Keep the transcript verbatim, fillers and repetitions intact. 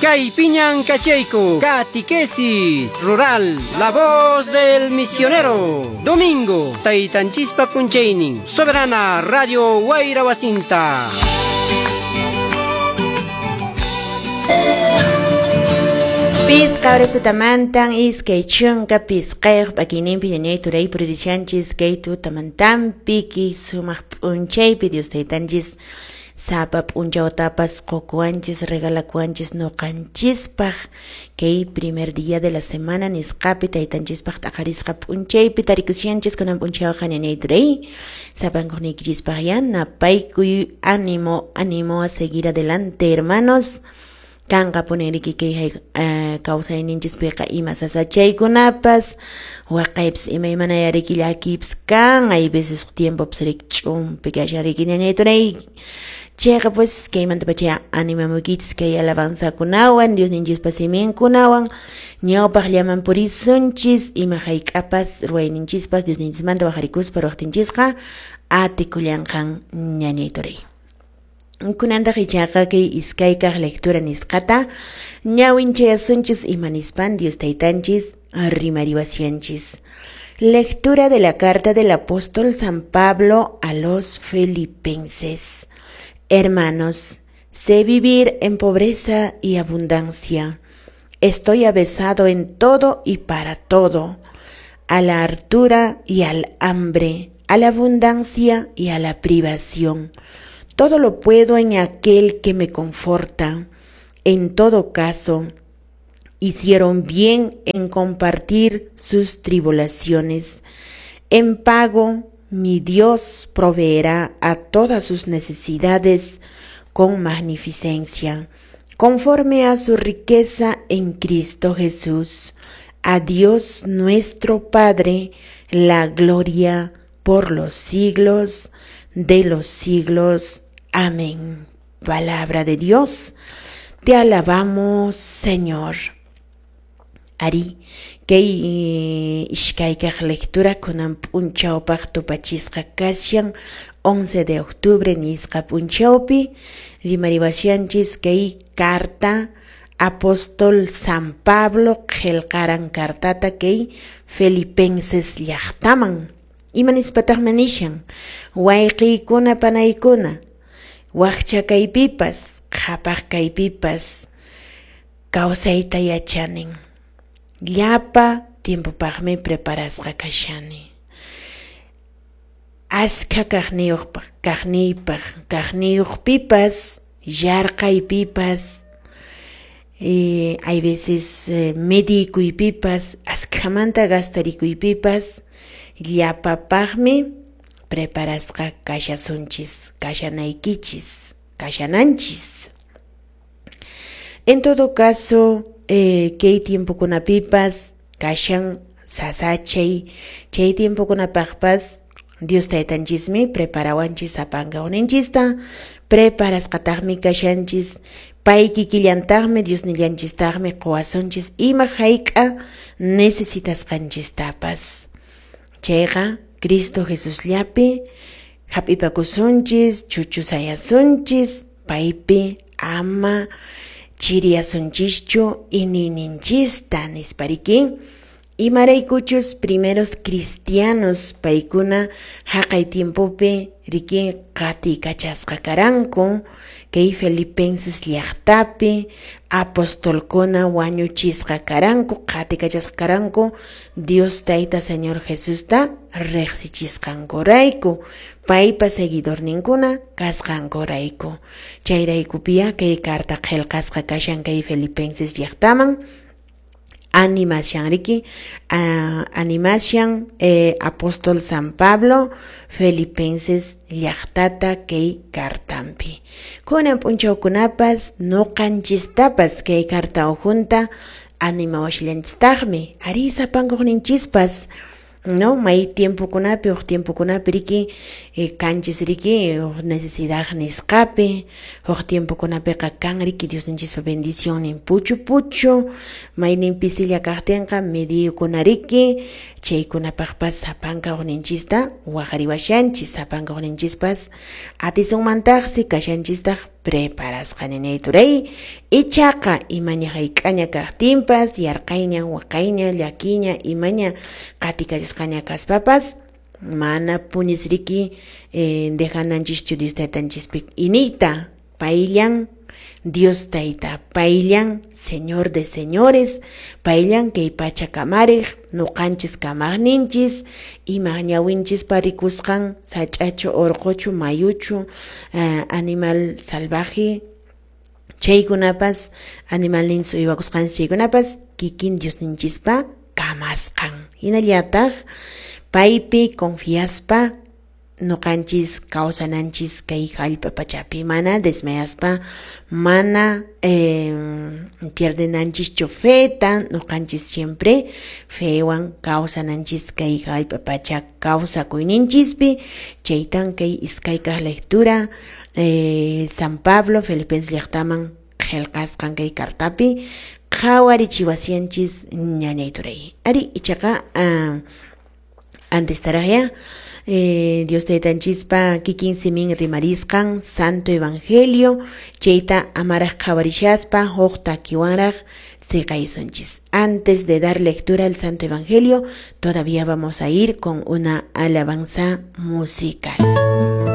Kay piñan kachayku, Catequesis Rural, La Voz del Misionero. Domingo, Taytanchispa punchaynin, Soberana Radio Wayra Wasinta. Pisqa horas tutamantan iskay chunka pisqayuq p'akiyninpi ñañay turay puririshanchis kay tutamantanpi sumaq p'unchaypi Dios taytanchis sapa p'unchawtapas qukuwanchis regalakuwanchis nuqanchispaq kay primer día de la semana nisqapi taytanchispaq t'aqarisqa p'unchaypi tarikushanchis kunan p'unchawqa ñañay turay sapankuqniykichispaq yanapaykuy ánimo ánimo a seguir adelante hermanos. Kanqa puniriki kay kawsayninchispiqa ima sasachaykunapas waqaypas imaymana yariki llakiypas kan hay veces tiempopas riki ch'umpi kashan riki ñañay turay chayqa pues kaymantapacha animamuykichis kay alabanzakunawan Diosninchispa siminkunawan ñawpaqllaman purisunchis ima hayk'apas ruwayninchispas Diosninchismanta waqarikuspa ruwaqtinchisqa atikullanqan ñañay turay. Kunantaq ichaqa kay iskaykaq lectura nisqata ñawinchayasunchis ima nispan Dios taytanchis rimariwasyanchis. Lectura de la carta del apóstol San Pablo a los Filipenses. Hermanos, sé vivir en pobreza y abundancia. Estoy avesado en todo y para todo, a la hartura y al hambre, a la abundancia y a la privación. Todo lo puedo en aquel que me conforta. En todo caso, hicieron bien en compartir sus tribulaciones. En pago, mi Dios proveerá a todas sus necesidades con magnificencia, conforme a su riqueza en Cristo Jesús. A Dios nuestro Padre, la gloria por los siglos de los siglos. Amén. Palabra de Dios, te alabamos, Señor. Ari, kay ishkaykaq lectura kunan p'unchawpaq tupachisqa kashan once de octubre nisqa p'unchawpi rimariwashanchis kay carta apóstol San Pablo qillqaran cartata kay Filipenses llaqtaman. Ima nispataqmi nishan wayqiykuna panaykuna wakcha kaypipas qhapaq kaypipas kawsayta yachanin llapa tiempopaqmi preparasqa kashani askha kaqniyuqpaq kaqniypaq kaqniyuqpipas yarqaypipas eh, hay veces eh, medikuypipas askhamanta gastarikuypipas llapapaqmi preparasqa kashasunchis, kashanaykichis, kashananchis. En todo caso, eh, kay tiempokunapipas kashan sasachay, chay tiempokunapaqpas Dios taytanchismi preparawanchis sapankawninchista, preparasqataqmi kashanchis, pay kikillantaqmi Diosnillanchistaqmi quwasunchis ima hayk'a necesitasqanchistapas. Chayqa Cristo Jesusllapi hap'ipakusunchis, chuchusayasunchis, paypi ama chiriasunchischu iñiyninchista nispariki. Imaraykuchus primeros cristianos paykuna haqay tiempopi riki qatikachasqa karanku kay Filipenses llaqtapi apostolkuna wañuchisqa karanku qatikachasqa karanku Dios tayta Señor Jesusta riqsichisqankurayku paypa seguidorninkuna kasqankurayku chayraykupia kay carta qillqasqa kashan kay Filipenses llaqtaman animashan riki uh, animashan eh, apóstol San Pablo Filipenses llaqtata kay kartampi kunan p'unchawkunapas nuqanchistapas kay karta ujunta animawashallanchistaqmi ari sapankuqninchispas No, may tiempokunapi, huk tiempokunapi riki, eh, kanchis riki, huk necesidad nisqapi, huk tiempokunapiqa kan riki Diosninchispa bendicionnin puchu puchu, maynin pisilla kaqtinqa mediyukuna riki, chaykunapaqpas sapanka hukninchista waqariwashanchis, sapanka hukninchispas atisunmantaqsi kashanchistaq preparasqa ninay turay, ichaqa imaña hayk'aña kaqtinpas, yarqayña, waqayña, llakiña, imaña qatikachisqaña kaspapas, mana punis riki eh, dejananchischu Dios taytanchispi iniyta, payllan Dios tayta, payllan Señor de señores, payllan kay pacha kamariq, nuqanchis kamaqninchis, ima ñawinchispa rikusqan sach'achu, urquchu, mayuchu, uh, animal salvaje, chaykunapas, animalninchis uywakusqanchis chaykunapas, kikin Diosninchispa kamasqan. Hinallataq paypi confiaspa nuqanchis kawsananchis kay hallp'a pachapi, mana desmayaspa, mana eh, pierdenanchischu feta, nuqanchis siempre fewan kawsananchis kay hallp'a pacha kawsakuyninchispi. Chaytan kay iskaykaq lectura eh, San Pablo Filipenses llaqtaman qillqasqan kay cartapi qhawarichiwasianchis ñañay turay. Ari ichaqa uh, antes taraqya Eh, Dios taytanchispa kikin simin rimarisqan Santo Evangelio chayta amaraq qhawarishaspa huk takiwanraq siqaysunchis. Antes de dar lectura al Santo Evangelio, todavía vamos a ir con una alabanza musical.